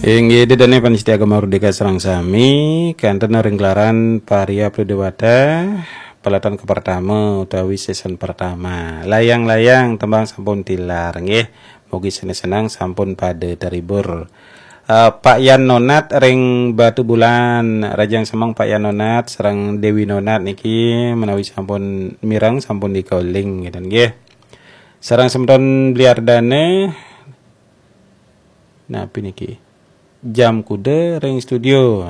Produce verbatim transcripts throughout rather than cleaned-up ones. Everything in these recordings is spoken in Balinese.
Inggih, ida dané pamiarsa Gema Merdeka sareng sami, kanten ring gelaran Paria Pradéwata, pelatan ke pertama utawi season pertama. Layang-layang tembang sampun tilar, nggih. Mugi seneng-seneng sampun pada terhibur. Eh, Pak Yan Nonat ring Batubulan, rahajeng semeng Pak Yan Nonat sareng Déwi Nonat niki menawi sampun mireng, sampun di-calling, ngeten nggih. Sareng semeton Bli Ardana, napi niki? Jam kuda ring studio.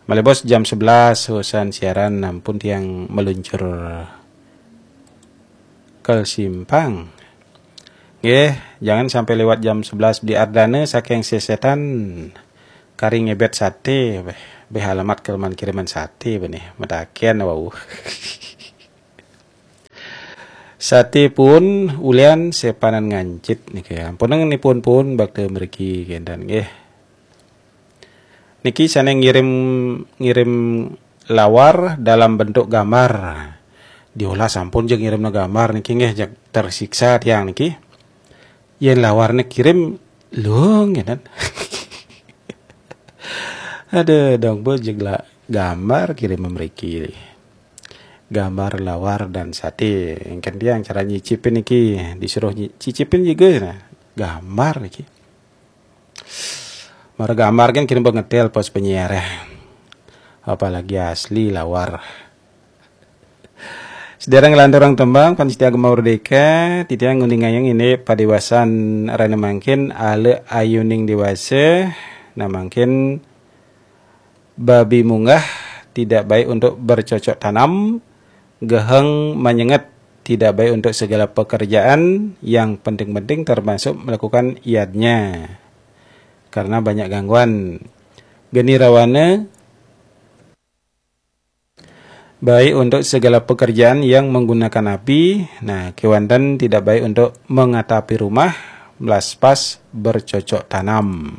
Malih bos jam sebelas usan siaran, ampun tiang meluncur ke simpang. Nggih, jangan sampai lewat jam sebelas Bli Ardana saking Sesetan kari ngebet sate, beh, beh alamat kelemahan kiriman sate benih, mataken wau. Sate pun ulian sepanan ngancit niki. Ampun nipun pun bakta mriki kenten nggih. Niki sané ngirim, ngirim lawar dalam bentuk gambar. Diolah sampun, jeg ngirimna gambar niki nggih, jeg tersiksa tiang niki. Yén lawarné kirim, lho ngenen. Aduh, dong bos, jeg la gambar kirim mriki. Gambar lawar dan sate. Engken tiang cara nyicipin niki, disuruh nyi-, cicipin juga nah. Gambar niki. Mara gambar kan kirim pengetel pos penyiar, eh. Apalagi asli lawar. Sedereng nglanturang tembang, pamiarsa Gema Merdeka, titiang nguningayang indik padéwasan rahina mangkin, ala ayuning déwasa, nah mangkin babi munggah, tidak baik untuk bercocok tanam, geheng manyenget, tidak baik untuk segala pekerjaan, yang penting-penting termasuk melakukan yadnya. Karena banyak gangguan. Geni rawana, baik untuk segala pekerjaan yang menggunakan api, nah, kéwanten tidak baik untuk mengatapi rumah, melaspas, bercocok tanam.